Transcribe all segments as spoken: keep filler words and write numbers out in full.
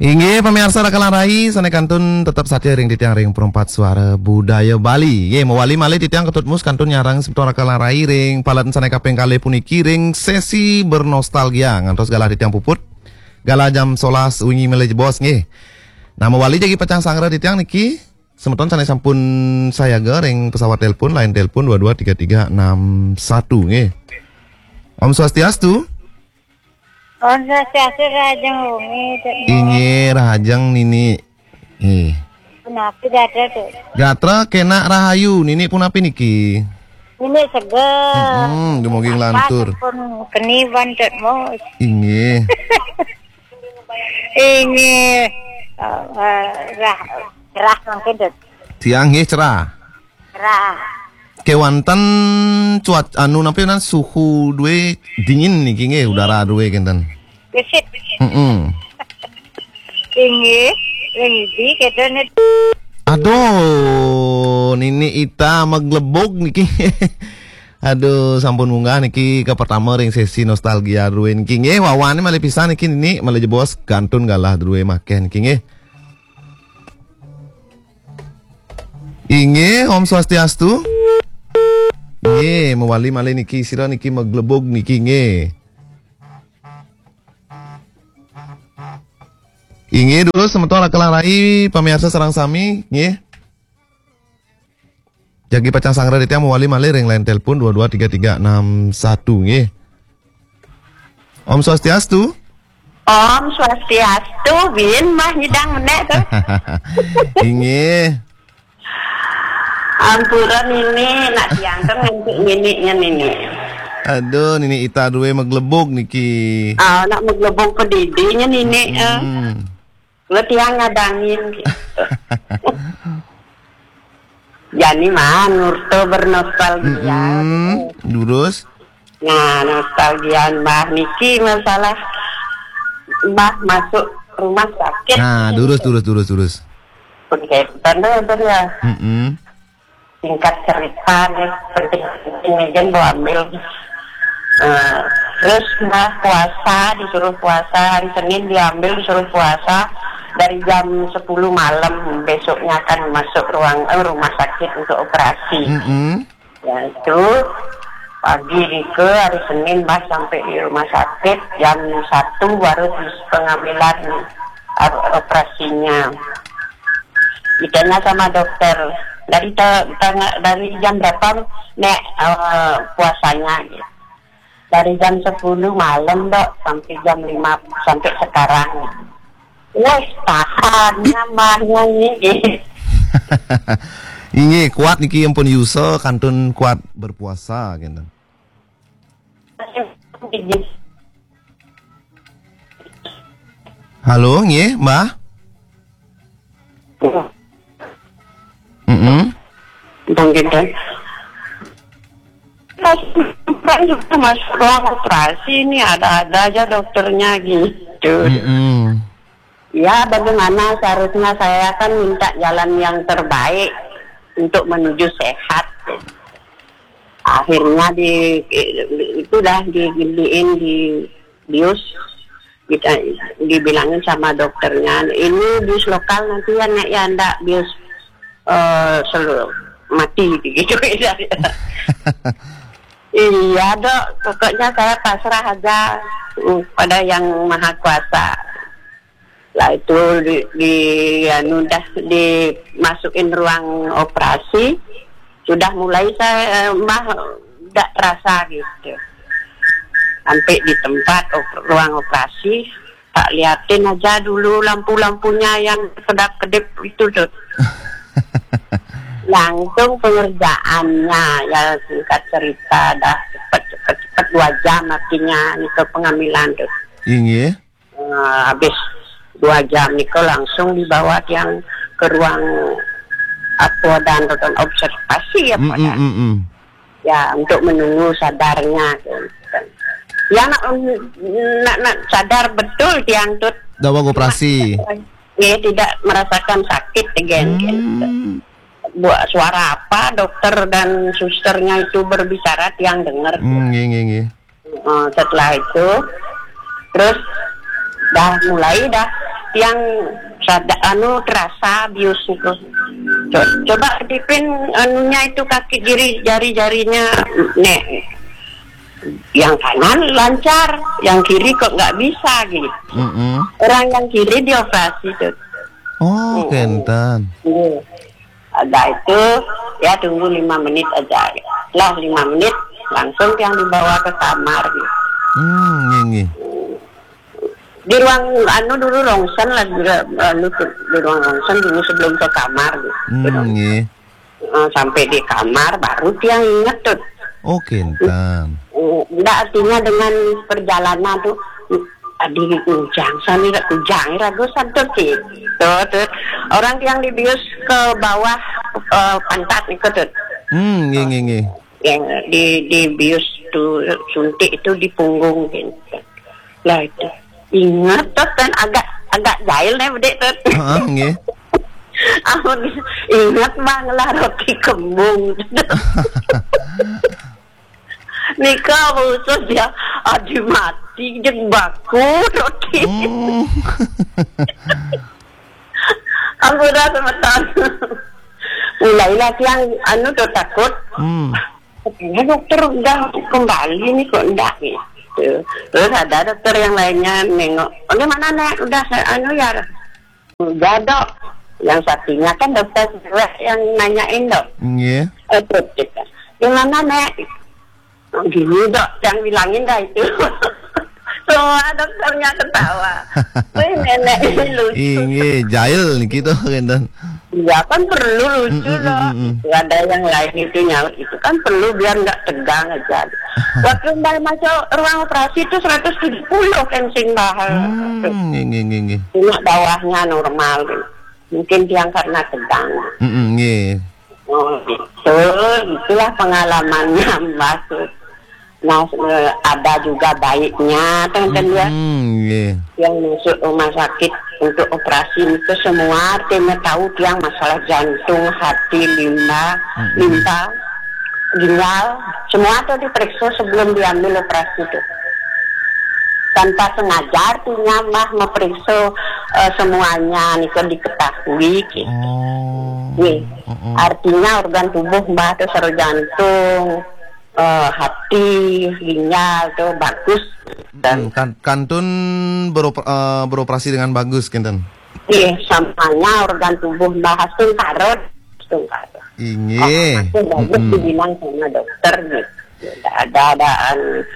Inggih, pamiarsa Rakalan Rai, sané kantun tetep satia ring titiang ring Perempat Suara Budaya Bali. Nggih, mawali malih titiang Ketut Mus kantun nyarengin semeton Rakalan Rai ring paladan sané kaping kalih puniki ring sesi bernostalgia. Ngantos galah titiang puput. Galah jam sebelas wengi malih jebos nggih. Nah, mawali jagi pacang sangra titiang niki, semeton sané sampun sayaga ring pesawat telepon, line telepon dua dua tiga tiga enam satu nggih. Om Swastiastu. Om Swastiastu, Rahajeng wengi, Cek. Inggih, Rahajeng Nini. Eh. Punapi gatra, Cek? Gatra kenak rahayu, Nini punapi niki? Nini seger. Hmm, dumugi nglantur. Pun keni ban, Cek, Mus. Inggih. Inggih. Eh, eh, rah, rah mangkin, Cek. Tiang nggih cerah. Rah. Kéwanten cuaca anu napi nan suhu dué dingin niki nggih, udara dué kénten. Gesit. Heeh. Inggih, ring idi kéto nit. Aduh, Nini Ita maglebug niki. Aduh, sampun munggah niki ka pertama ring sesi nostalgia drué niki nggih. Wawané malih pisan niki Nini, malih jebos kantun galah drué makéh niki nggih. Inggih, Om Swastiastu. Nggih, mawali malih niki sira niki maglebug niki nggih. Inggih, durus semeton Rakalan Rai, pamiarsa sareng sami, nggih. Jagi pacang sangra titiang mawali malih ring line telepon dua dua tiga tiga enam satu nggih. Om Swastiastu. Om Swastiastu, bin mah nyidang menék tuh. Inggih. Ampura Nini, nak tiang tuh nganti Nini nya Nini. Aduh, Nini Ita dué maglebug niki. Ah, nak maglebug pedidi nya Nini, eh. Hmm. Lo tiang ngadangin gitu. Jani mah nurto bernostalgia. Mm-mm. Durus. Nah, nostalgia Mbah niki masalah Mbah masuk rumah sakit. Nah, durus, durus, durus, durus. Oke, tanda ya. Mm-mm. Singkat cerita nih, penting-penting aja mau ambil. Eh, terus Mbah puasa, disuruh puasa, hari Senin diambil, disuruh puasa dari jam sepuluh malam. Besoknya akan masuk ruang, eh, rumah sakit untuk operasi. Mm-mm. Ya itu, pagi nika hari Senin Mbah sampai di rumah sakit jam satu baru terus pengambilan, eh, operasinya. Ditanya sama dokter, "Dari te-, tengah, dari jam berapa, Nek, eh, puasanya?" Gitu. "Dari jam sepuluh malam, Dok, sampai jam lima, sampai sekarang." Wes, tahan, nyaman, nyanyi. Inggih, kuat niki ampun yusa kantun kuat berpuasa, gitu. Halo, nggih, Mbah? Mm-mm. Bang Gintan. Kan juga masuk ruang operasi, ini ada-ada aja dokternya gitu. Mm-mm. Ya, bagaimana seharusnya saya kan minta jalan yang terbaik untuk menuju sehat. Akhirnya di, itulah digiliin di bius, kita dibilangin sama dokternya, "Ini bius lokal nanti ya, Nek, ya, ndak bius, eh, selu-, mati," gitu. Iya, Dok, pokoknya saya pasrah aja, mm, pada Yang Maha Kuasa. Lah itu di, di, anu, dah dimasukin ruang operasi, sudah mulai saya, eh, Mbah, ndak terasa gitu. Sampai di tempat op-, ruang operasi, tak liatin aja dulu lampu-lampunya yang kedap-kedip itu tuh. Langsung pengerjaannya, ya, singkat cerita, dah cepet, cepet, cepet, dua jam artinya itu pengambilan tuh. Inggih. Eh, habis dua jam itu langsung dibawa tiang ke ruang apa dan ruang observasi apa. Mm-mm, dan mm-mm. Ya, untuk menunggu sadarnya, gitu. Ya, nak, nak, nak sadar betul tiang tuh. Daweg operasi. Ya, tidak merasakan sakit again, gitu. Hmm. Buat suara apa dokter dan susternya itu berbicara, tiang dengar. Hmm, nggih, nggih, nggih. Eh, setelah itu, terus dah mulai dah Yang sada anu terasa bius itu. Co- Coba kedipin anunya itu kaki kiri jari-jarinya, nek yang kanan lancar, yang kiri kok nggak bisa gitu. Mm-mm. Orang yang kiri dioperasi tuh. Oh, Mm-mm. Kenten. Iya. Ada itu, ya tunggu lima menit aja. Lah lima menit langsung yang dibawa ke kamar gitu. Hmm, nggih, nggih. Di ruang anu dulu rongsen lah juga anu tuh, di ruang rongsen dulu sebelum ke kamar gitu. Hmm, nggih. Eh, sampai di kamar baru tiang inget tuh. Oh, Kenten. Eh, Ndak artinya dengan perjalanan tuh, adi kujang sani rak kujang ragu satu sih. Tuh, tuh. Orang yang dibius ke bawah eh, pantat itu tuh. Hmm, nggih, nggih, nggih. Yang di dibius tuh suntik itu di punggung gitu. Lah itu. Ingat tuh kan agak agak jahil nih bedek tuh. Heeh, nggih. Amun ingat mah ngelah roti kembung. Nika khusus ya, adi mati jeung baku roti. Hmm. Ampun dah semeton. Mulailah tiang anu tuh takut. Hmm. Katanya dokter udah kembali nih kok enggak gitu. Terus ada dokter yang lainnya nengok. Bagaimana nek udah saya anu ya? Udah dok. Yang satunya kan dokter cewek yang nanyain dok. Nggih. Eh, terus kita. Gimana nek? Gini dok, yang bilangin dah itu. Semua dokternya ketawa. Wih nenek ini lucu. Inggih, jahil niki tuh Kenten. Iya kan perlu lucu Mm, mm, loh. mm, mm. Itu ada yang lain itu nyaut itu kan perlu biar nggak tegang aja. Waktu mbah masuk ruang operasi itu seratus tujuh puluh kan sing mahal. Hmm, nggih, nggih, nggih, nggih. Cuma bawahnya normal gitu. Mungkin dia karena tegang. Mm, mm, nggih. Oh, gitu. Itulah pengalamannya Mbah tuh. Nah, eh, ada juga baiknya, kan, kan ya. Hmm, nggih. Yang masuk rumah sakit untuk operasi itu semua artinya tahu tiang masalah jantung, hati, limpa, Mm-mm. limpa, ginjal, semua tuh diperiksa sebelum diambil operasi tuh. Tanpa sengaja artinya Mbah memeriksa eh, semuanya nih kan diketahui gitu. Oh. Nih, Mm-mm. artinya organ tubuh Mbah tuh sareng jantung, eh, hati, ginjal tuh bagus. Hmm, kan kantun beroper- eh, beroperasi dengan bagus Kenten. Iya, samanya organ tubuh Mbah astungkara, astungkara. Inggih. Itu bagus Mm-mm. dibilang sama dokter gitu. Ada ada anu.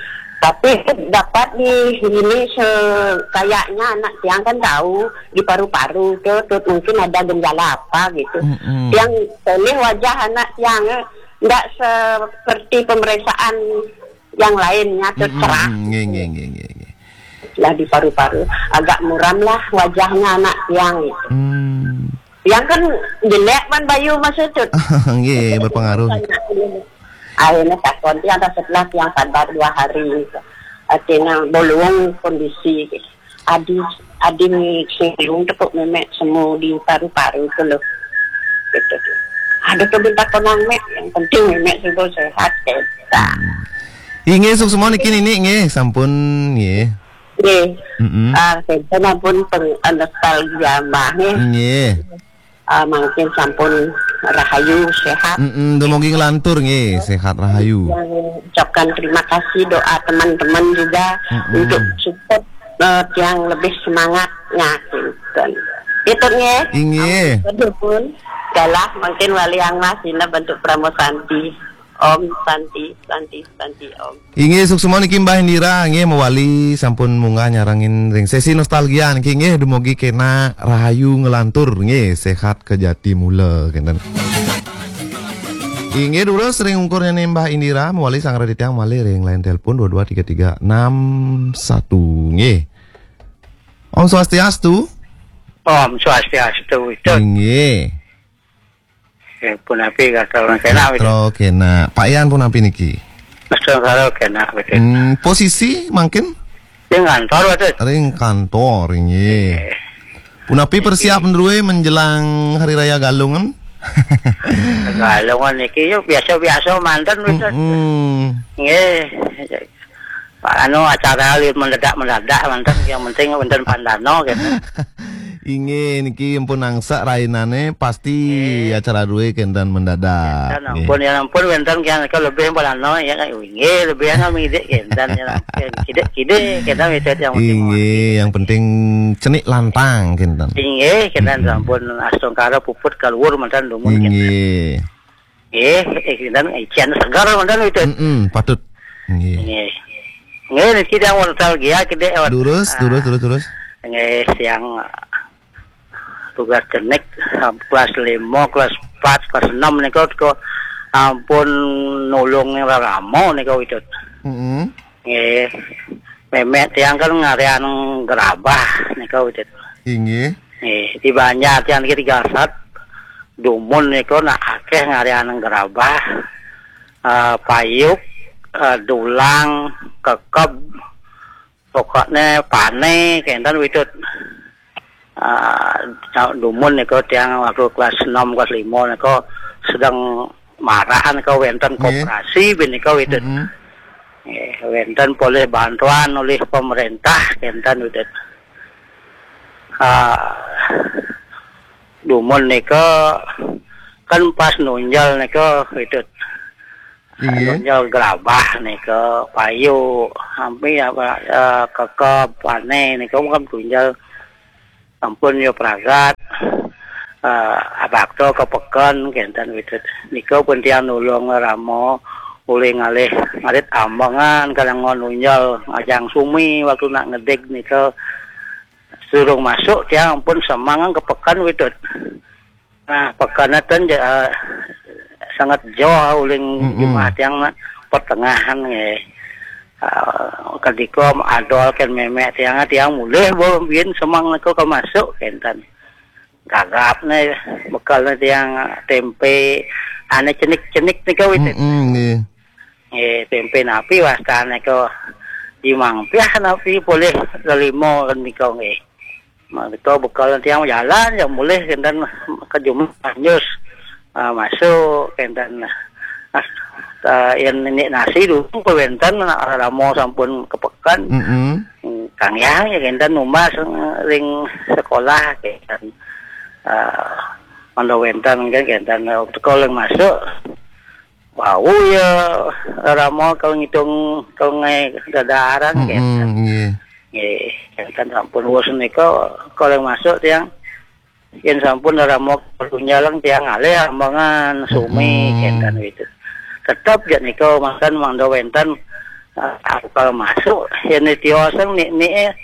Tapi dapat di ini se- kayaknya anak tiang kan tahu di paru-paru tuh, tuh mungkin ada gejala apa gitu. Mm-mm. Yang pilih wajah anak tiang eh, nggak seperti pemeriksaan yang lainnya tuh Mm-mm. cerah. Nggih, nggih, nggih, nggih, nggih. Lah di paru-paru agak muram lah wajahnya anak tiang gitu. Hmm. Yang kan jelek kan bayu maksud tuh. Nggih, berpengaruh. Akhirnya takon tiang setelah tiang sadar dua hari. Artinya bolong kondisi. Adi adi sing bingung tekuk memek semu di paru-paru itu loh. Gitu. Ada tuh minta konang mek, yang penting memek sudah sehat kita. Inggih, suksma niki Nini nggih, sampun nggih. Nggih. Mm-mm. Ah, saya pun peng nostalgia mah nggih. Nggih. Ah, mungkin sampun rahayu sehat. Mm-mm, dumugi nglantur nggih, sehat rahayu. Yang ucapkan terima kasih doa teman-teman juga Mm-mm. untuk support eh, yang lebih semangatnya gitu. Itu nggih. Inggih. Kedukun. Galah mungkin wali yang masih bentuk Pramosanti. Om Santi, Santi, Santi Om. Inggih, suksma niki Mbah Indira nggih mewali sampun munggah nyarengin ring sesi nostalgia niki nggih, dumugi kena rahayu nglantur nggih, sehat kejati mula kenten. Inggih, durus ring ungkur niki Mbah Indira mewali sang raditya malih ring line telepon dua dua tiga tiga enam satu nggih. Om Swastiastu. Om Swastiastu itu. Inggih. Eh, punapi gatra kena gitu. Gatra kena. Pak Yan punapi niki? Astungkara kena gitu. Hmm, posisi mungkin Ring kantor itu. Ring kantor nggih. Punapi persiap ndruwe menjelang hari raya Galungan? Galungan niki yo biasa-biasa manten gitu. Hmm. Nggih. Pak anu acara li mendadak-mendadak manten, yang penting wonten pandano gitu. Inggih, niki ampun angsak rainane, pasti acara duwe kenten mendadak. Kenten ampun, ya ampun, wenten kian nika lebih balano, ya kan? Inggih, lebih ana midik kenten, ya. Kidik-kidik kenten midik yang penting. Inggih, yang penting cenik lantang kenten. Inggih, kenten sampun astungkara puput kaluhur mantan dumun kenten. Inggih. Nggih, eh, dan ician segar mantan itu. Mm-mm, patut. Nggih. Nggih. Nggih, niki yang nostalgia gede, Wan. Durus, durus, durus, durus. Nggih, siang, ah, tugas cenik, ah, kelas lima, kelas empat, kelas enam niku kok ampun nulung raramo niku, Widut. Mm-mm. Nggih. Memek tiang kan ngarian gerabah niku, Widut. Inggih. Nggih, di Banjar tiang niki tiga sat. Dumun niku nak akeh ngarian gerabah, eh, payuk, eh, dulang, kekeb, pokokne pane kenten, Widut. Ah, dumun niku tiang waktu kelas enam, kelas lima niku sedang marahan ke wenten koperasi bin niku, Widut. Mm-mm. Nggih, wenten polih bantuan oleh pemerintah kenten, Widut. Ah, dumun niku kan pas nunjel niku, Widut. Inggih. Nunjel gerabah niku, payu, ampi apa, eh, kekeb, pane niku kan tunjel sampun ya pragat, eh, abakta ka peken kenten, Widut. Nika pun tiang nulung rama uli ngalih ngarit ambengan kala ngunjal ngajang sumi waktu nak ngedig nika. Durung masuk tiang ampun semangan ka peken, Widut. Nah, peken ten ja-, eh, sangat jauh uling jumah tiang nak pertengahan nggih. Eh, kedika adol ken memek tiang, tiang mulih bo bin semang nika ka masuk kenten. Gagapne bekalne tiang tempe ane cenik-cenik nika, Widut. Mm-mm, nggih. Nggih, tempe napi wastane nika jimang piah napi polih lelima nika nggih. Nika bekal tiang jalan ya mulih kenten ke jumah nyus, ah, masuk kenten. Ah, ah, yen nini nasi dulu kewenten rama sampun ke peken. Mm-mm. Kang Yang ya kenten numbas ring sekolah kenten. Ah, mangda wenten kan kenten, teka ring masuk. Wau ya rama kalau ngitung kalau ngai dadaran kenten. Mm-mm, nggih. Nggih, kenten sampun wus nika kalau masuk tiang yen sampun rama kalunyalang tiang ngalih ambengan sumi kenten, Widut. Tetep ja nika mangkan mangda wenten, eh, akal masuk yen tioseng nik-nik, eh,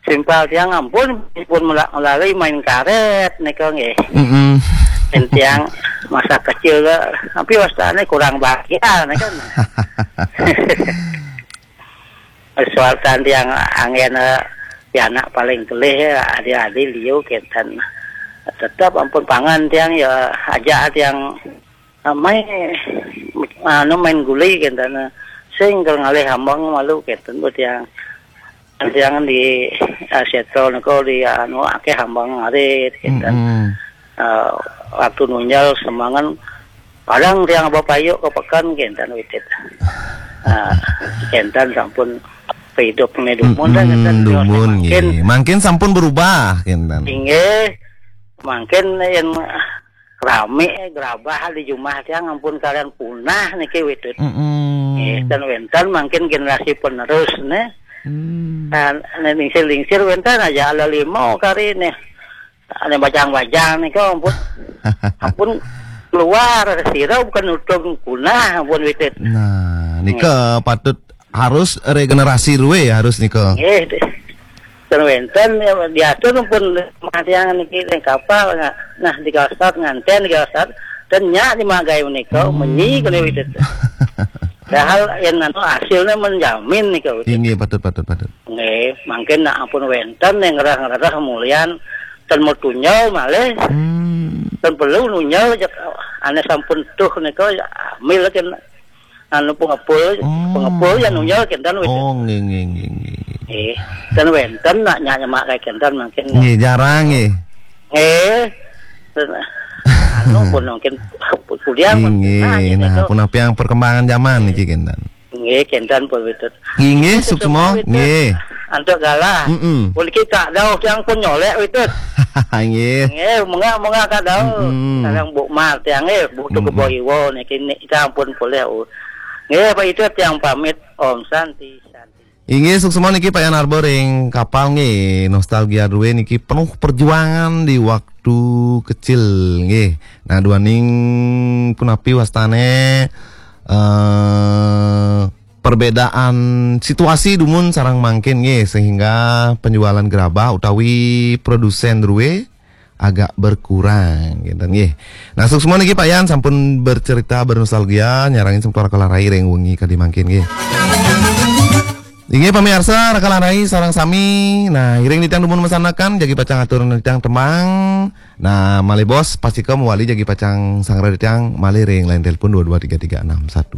simpal tiang ampun pun melak melali main karet nika nggih. Mm-mm. Yen tiang masa kecil ke, tapi wastane kurang bahagia nika. Soal tiang anggen, eh, pianak paling kelih ya, adi-adi liu kenten. Tetep ampun pangan tiang ya, aja tiang, eh, main, anu, main guli kenten. Sing kal ngalih ambeng malu kenten buat tiang. Tiang di, eh, setro niku di, anu, akeh ambeng arit kenten. Mm-mm. Eh, waktu nunjal semangan, kadang tiang bapayuk ke peken kenten, Widut. Eh, kenten sampun hidup ne dumun dah kenten, dumun mangkin. Nggih. Mangkin sampun berubah kenten. Inggih. Mangkin yen rame gerabah di jumah tiang ampun kalian punah niki, Widut. Mm-mm. Nggih, ten wenten mangkin generasi penerus ne. Hmm. Nah, ne lingsir-lingsir wenten aja ala lima kari ne. Ane bajang-bajang nika ampun. Ampun keluar sira bukan nutup punah ampun, Widut. Nah, nika patut harus regenerasi rue harus nika. Nggih. Ten wenten ya, diatur pun matiang niki ring kapal, nah, nah, digasat nganten digasat, ten nyak dimagai menika, hmm, menyi kene, Widut. Padahal yen anu hasilnya menjamin nika, Widut. Inggih, patut, patut, patut. Nggih, mangkin nak ampun wenten yang ngerah-ngerah mulian ten mau tunjal malih. Hmm. Ten perlu nunjal, ane sampun tuh nika, ambil kan anu pengepul, oh, pengepul ya nunjal kenten, Widut. Oh, nggih, nggih, nggih, nggih. Eh, ten wenten nak nyak nyemak kayak kenten mangkin. Nggih, jarang nggih. Nggih. Ten, anu pun mungkin kuliah pun, nggih, nah, gitu. Nah, pun apa yang perkembangan zaman niki kenten. Nggih, kenten pun, Widut. Nggih, nggih, suksma, Widut. Nggih. Antuk galah. Mm-mm. Pun kita ada yang pun nyolek, Widut. Nggih. Nggih, munggah-munggah kadang. Mm-mm. Kadang Bu Mar tiang nggih, butuh Mm-mm. kebo iwo niki ni sampun polih. Nggih, Pak Itu tiang pamit. Om Santi, Santi. Inggih, suksma niki Pak Yan Arbor ring kapal nggih. Nostalgia Rue niki penuh perjuangan di waktu kecil nggih. Nah, duaning punapi wastane eh perbedaan situasi dumun sareng mangkin nggih, sehingga penjualan gerabah utawi produsen rue agak berkurang gitu nggih. Nah, suksma niki Pak Yan sampun bercerita bernostalgia nyarengin semeton Raka lan Rai ring wengi kadi mangkin nggih. Inggih pamirsa, Raka lan Rai sareng sami. Nah, iring titiang dumun masandekan jagi pacang atur titiang tembang. Nah, malih bos pastika mawali jagi pacang sanggra titiang malih ring line telepon dua dua tiga tiga enam satu.